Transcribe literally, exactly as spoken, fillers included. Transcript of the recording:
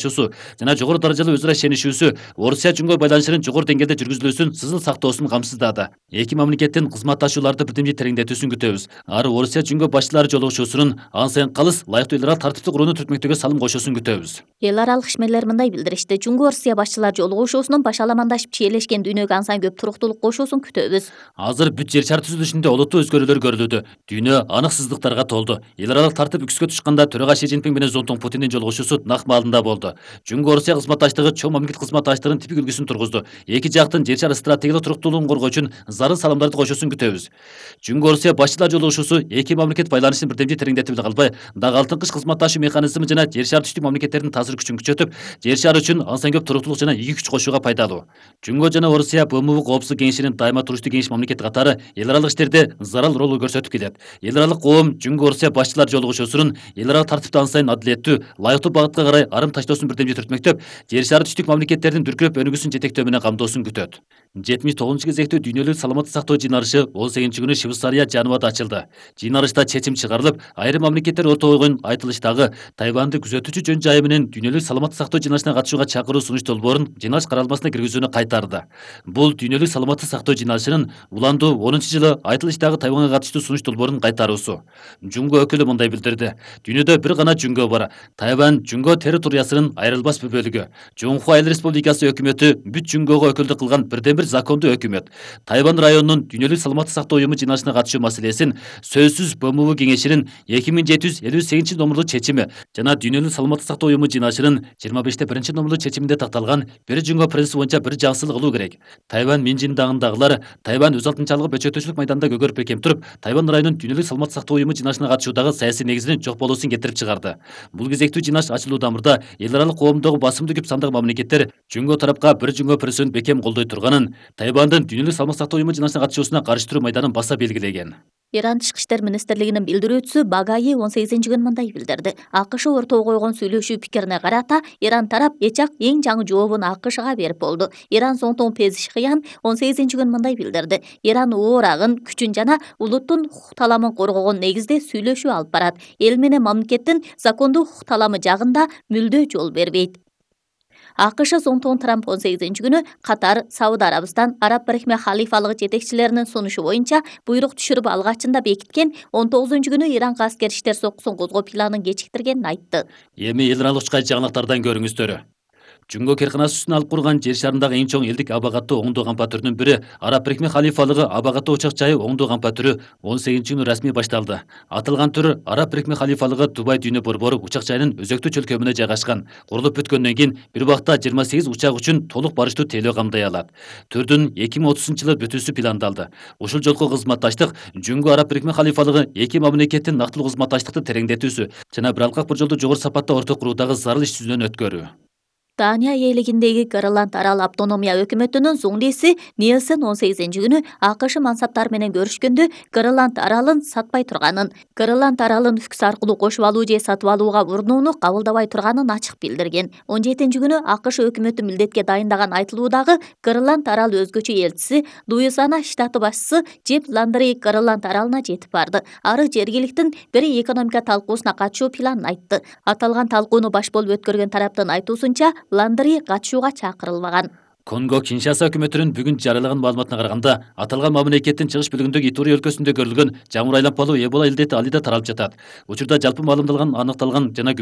жана жогору даражалуу өзара ишенишүүсү Орусия Жөнгө байланышынын жогору деңгээлде жүргүзүлүүсүн сызыл сактоосун камсыздады. Эки мамлекеттин кызматташууларды бирдемдей тереңдетүүсүн күтөбүз. Ары Орусия Жөнгө башчылары жолугушуусунун ан сайын калыс лайыктуу эл аралык тартипти курууну түртмөктөгө салым кошуусун күтөбүз. Эл аралык ишмерлер мындай билдиришти. Жөнгө Орусия башчылар жолугушуусунун башаламандашып чиелешкен дүйнөгө ан сайын көп туруктуулук кошуусун күтөбүз. Азыр бүт жер шары түзүлүшүндө олуттуу өзгөрүүлөр көрүлүүдө. Дүйнө аныксыздыктарга толду. Эл аралык тартип үкүскө тушканда төрага Ши Цзиньпин менен Зонтун Путиндин жолугушуусу нак маалында болду. Жөнгө Орусия кызматташтыгы чоң мамлекет кызматташтыгынын типик үлгүсүн тургузду. Эки жактын жер шары стратегиялык туруктуулугун коргоо үчүн зарыл салымдарды кошуусун күтөбүз. Жөнгө Орусия башчылар жолугушуусу эки мамлекет байланышын бирдемдей тереңдетип эле калбай, дагы алтын кыш кызматташуу механизми жана жер шары түштүк мамлекеттердин таасир күчүн күчөтүп, жер шары үчүн ан сайын көп туруктуулук жана ийгилик күч кошууга пайдалуу. Жөнгө жана Орусия Б М У коопсуздук кеңешинин дайыма туруштуу кеңеш мамлекети катары эл аралык иштерде зарыл ролу көрсөтүп келет. Эл аралык коом Жөнгө Орусия башчылар жолугушуусунун эл аралык тартипти ан сайын адилеттүү, лайыктуу багытка карай арым таштоосун бирдемдей түртмөктөп, жер шары түштүк мамлекеттердин дүркүрөп өнүгүүсүн жетектөө менен камдоосун күтөт. жетимиш тогузунчу кезектүү дүйнөлүк саламаттык сактоо жыйналышы он сегизинчи күнү Швейцария Женевада ачылды. Жыйналышта чечим чыгарылып, айрым мамлекеттер ортого койгон айтылыштагы Тайванды күзөтүүчү жөн жайы менен дүйнөлүк саламаттык сактоо жыйналышына катышууга чакыруу сунуш долбоорун жыйналыш каралмасына киргизүүнү кайтарды. Бул дүйнөлүк саламаттык сактоо жыйналышынын уландуу онунчу жылы айтылыштагы Тайванга катыштуу сунуш долбоорун кайтаруусу. Жөнгө өкүлү мындай билдирди. Дүйнөдө бир гана жөнгө бар. Тайвань жөнгө территориясынын айрылбас бир бөлүгү. Жоңху Айыл Республикасы өкмөтү бүт жөнгөгө өкүлдүк кылган бирден бир закондуу өкмөт. Тайвань районунун дүйнөлүк саламаттык сактоо уюму жыйналышына катышуу маселесин сөзсүз Б М У кеңешинин эки миң жети жүз элүү сегизинчи номерлуу чечими жана дүйнөлүк саламаттык сактоо уюму жыйналышынын жыйырма беште биринчи номерлуу чечиминде такталган бир жөнгө принципи боюнча бир жаңсыздык кылуу керек. Тайвань Минжиндагындагылар Тайвань өз алтынчалыгы бөчөтүүчүлүк майданында көгөрүп бекем туруп, Тайвань районунун дүйнөлүк саламаттык сактоо уюму жыйналышына катышуудагы саясий негизинин жок болуусун кетирип чыгарды. Бул кезектүү жыйналыш ачылуу дамырда эл аралык коомдогу басымдуу көп сандагы мамлекеттер жөнгө тарапка бир жөнгө принцибин бекем колдой турганын, Тайвандын дүйнөлүк саламаттык сактоо уюму жыйналышына катышуусуна каршы туруу майданын баса белгилеген. Иран Тышкы иштер министрлигинин билдирүүчүсү Багаи он сегизинчи күнү мындай билдирди. АКШ ортого койгон сүйлөшүү пикирине карата Иран тарап эчак эң жаңы жообун АКШга берип болду. Иран Зонтун Пезишкиян он сегизинчи күнү мындай билдирди. Иран оорагын, күчүн жана улуттун укук таламын коргогон негизде сүйлөшүү алып барат. Эл менен мамлекеттин закондуу укук таламы жагында мүлдө жол бербейт. АКШ Зонтун Трамп он сегизинчи күнү Катар, Сауд Арабистан, Араб Бирикме халифалыгы жетекчилеринин сунушу боюнча буйрук түшүрүп алгачында бекиткен он тогузунчу күнү Иранга аскер иштер соккусун козгоо планын кечиктиргенин айтты. Эми эл аралык учкай жаңылыктардан көрүңүздөр. Жөнгө керканасы үстүнө алып курган жер шарындагы эң чоң элдик абагаттуу оңдоо кампа түрүнүн бири Араб Бирикме халифалыгы абагаттуу учак жайы оңдоо кампа түрү он сегизинчи күнү расмий башталды. Аталган түр Араб Бирикме халифалыгы Дубай дүйнө борбору учак жайынын өзөктүү чөлкөмүнө жайгашкан. Курулуп бүткөндөн кийин бир убакта жыйырма сегиз учак үчүн толук барыштуу тейлөө камдай алат. Түрдүн эки миң отузунчу жылы бүтүүсү пландалды. Ушул жолку кызматташтык жөнгө Араб Бирикме халифалыгы эки мамлекеттин нактылуу кызматташтыкты тереңдетүүсү жана бир алкак бир жолду жогору сапатта орто куруудагы зарыл иш жүзүнөн өткөрүү. Дания ээлигиндеги Гренланд арал автономия өкмөтүнүн зуңдиси Нильсен он сегизинчи күнү АКШ мансаптары менен көрүшкөндө Гренланд аралын сатпай турганын, Гренланд аралын ФКС аркылуу кошуп алуу же сатып алууга урунууну кабылдабай турганын ачык билдирген. он жетинчи күнү АКШ өкмөтү милдетке дайындаган айтылуудагы Гренланд аралы өзгөчө элчиси Луизиана штаты башчысы Джефф Ландри Гренланд аралына жетип барды. Ары жергиликтин бир экономика талкуусуна катышуу планын айтты. Аталган талкууну баш болуп өткөргөн тараптын айтуусунча Ландри катышууга чакырылбаган. Конго Киншаса өкмөтүнүн бүгүн жарыялаган маалыматына караганда, аталган мамлекеттин чыгыш бөлүгүндөгү Итури өлкөсүндө көрүлгөн жамыр айланпалуу Эбола илдети али да таралып жатат. Учурда жалпы маалымдалган, аныкталган жана